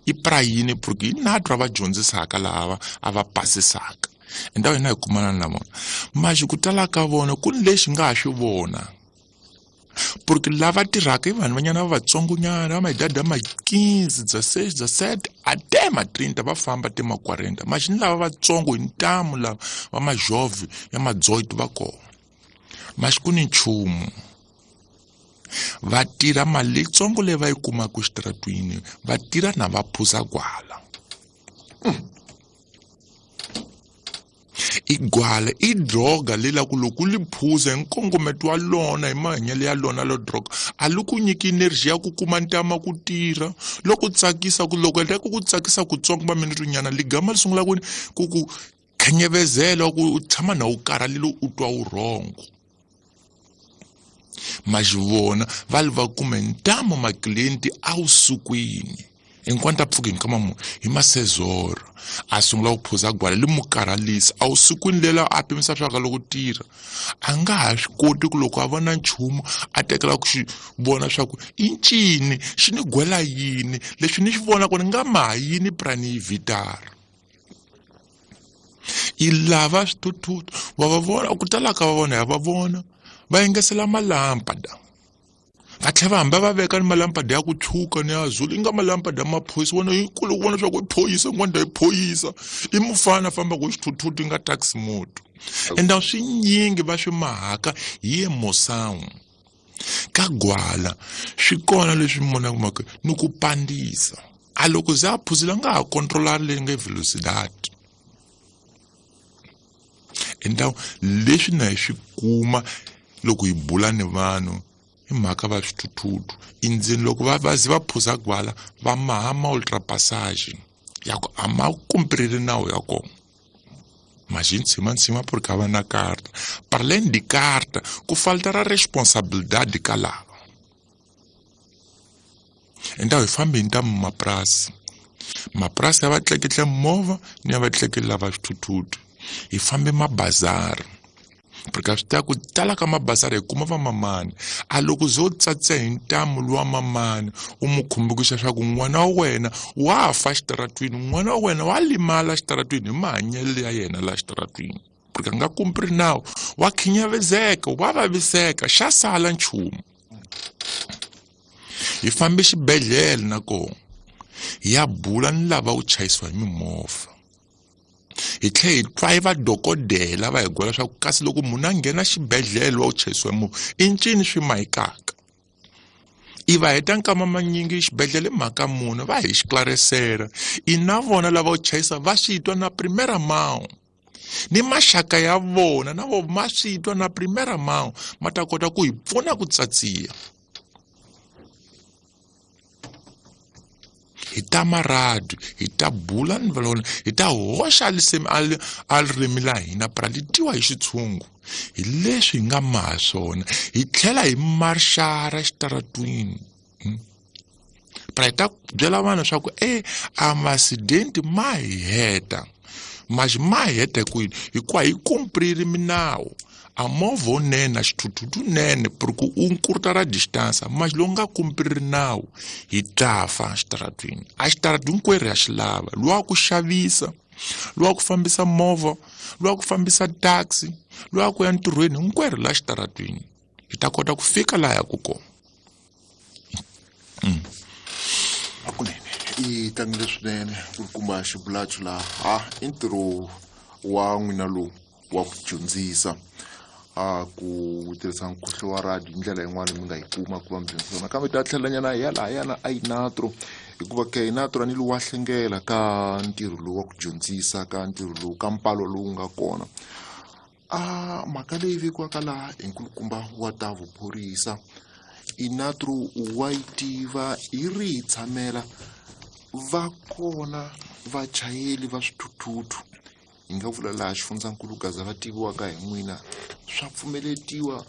I pra yini? Porque i natwa va dyondzisaka lava a va pasisaka endhawu hina hi kumana na vona maxi ku tala ka vona ku ni lexi nga ha swi vona porque lava tirhaka i vanhu vanyana va vatsongonyana va maidadi ma 15 16 17 até ma 30 va famba te ma 40 maxi ni lava vatsongo hi ntamu lava va majove ya ma18 va kona maxi ku ni nchumu va tirha mali leyitsongo leyi va yi kumaka exitaratwini va tirha na va phuza gwala. I gwala i droga leyi la ku loko u li phuza hi nkongometo wa lona hi mahanyelo ya lona lo droga a li ku nyiki energy ya ku kuma ntama ku tirha loko tsakisa ku loko endla ku ku tsakisa kutsongo maminete nyana ligama li sungula ku khanyevezela ku u tshama na u karhalile u twa vurhongo. Maxivona va li va kume ntamu maklienti awusukwini enquanto a pfuki nkama mu hi masezoro a sungula ku phuza gwala li mu karhalisa awusukwini lela a pimisa swa ka loko tirha a nga ha swi koti ku loko a vona nchumu a tekela ku xi vona swa ku i ncini xi ni gwela yini leswi ni xi vona ku ni nga maha yini prani yi vitara i lava swithuthutu wa va vona ku tala ka vona ya va vona va yingisela malampada va tlhela va hamba va veka ni malampada ya ku tshuka ni ya zulu i nga malampada ya maphorisa vona yi kule ku vona swa ku i phorisa n'wana i phorisa i mufana a fambaka hi xithuthutu i nga taxi moto ende swinyingi va swi mahaka hi emoção ka gwala swi kona leswi mona kumaka ni ku pandisa a loko ze a phuzile a nga ha controla leyi nga velocidade endhawu leswi na hi swi kuma loko hi bula ni vanhu hi mhaka va swithuthutu endzeni loko va va ze va phuza gwala va maha ma ultrapassage ya ku a ma kumpirili nawu ya kona maxi ntshima porque a va na karta para além de carta ku falta ra responsabilidade ka lava endhawu hi fambe hi ntamu mapurasi mapurasi ya va tleketla movha ni ya va tleketla lava swithuthutu hi fambe mabazari porque swi tiva ku tala ka mabazari hi kuma vamamani a loko zo tsatsa hi ntamu luwa mamani u mu khumbukisa swa ku n'wana wa wena wa fa xitaratwini n'wana wa wena wa limala xitaratwini hi mahanyelo ya yena la xitaratwini porque a nga kumpri nawu wa khinyavizeka wa vaviseka xa sala nchumu hi fambe xibedhlele na kona hi ya bula ni lava ku chayisiwa hi mimovha hi tlhela hi twa hi vadokodela va hi gwela swa ku kasi loko munhu a nghena xibedhlele wa ku chayisiwa hi movha i ncini swi mahikaka i va heta nkama manyingi xibedhlele mhaka mune va hi xiklarisela i na vona lava ku chayisa va swi twa na primera mão ni maxaka ya vona na vo ma swi twa na primera mão ma ta kota ku hi pfuna ku tsatsiya hi ta maradu hi ta bula ni valona hi ta hoxa lisemi a ririmi la hina pra li twiwa hi xitshungu hi leswi hi nga maha swona hi tlhela hi marxara xitaratwini pra hi ta byela vanhu swa ku e a masidenti ma hi heta maxi ma hi heta kwini hikuva hi kumpriri minawu a movha wunene a xithuthutu nene porque u nkurta ra distance maxi lowu nga kumpriri nawu hi ta fa xitaratwini a xitaratwini hinkwerhu ya xi lava luwa ku xavisa luwa ku fambisa movha luwa ku fambisa taxi luwa ku ya ntirhweni hinkwerhu la xitaratwini hi ta kota ku fika laha yaku kona. Hakunene i tlangile swinene ku kuma xibulachu laha ha i ntirho wa n'wina lowu wa ku dyondzisa a ku tirhisa nkhuhlo wa radio hi ndlela yin'wana mi nga yi kuma ku va mi dyondzisa nakambe ta tlhelanyana hi ya lahayana a inatro hikuva ke inatro a ni lowu wa hlengela ka ntirho lowu wa ku dyondzisa ka ntirho lowu ka mpalo lowu nga kona a mhaka leyi vekiwaka laha hi nkulukumba wa ta vuphorisa inatro wa yi tiva hi ri hi tshamela va kona vachayeli va swithuthuthu hi nga vula laha xifundzankulu Gaza va tiviwaka hi n'wina swa pfumeletiwa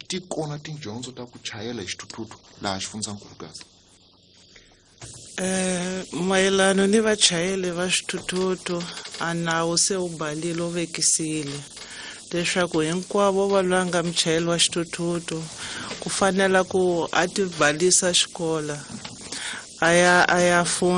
ti kona tidyondzo ta ku chayela hi xithuthuthu laha xifundzankulu Gaza. Mayelano ni vachayeli va swithuthuthu a nawu se wu balile wu vekisile leswaku hinkwavo va loyi a nga muchayeli wa xithuthuthu ku fanela ku a ti balisa xikola a ya a ya funda.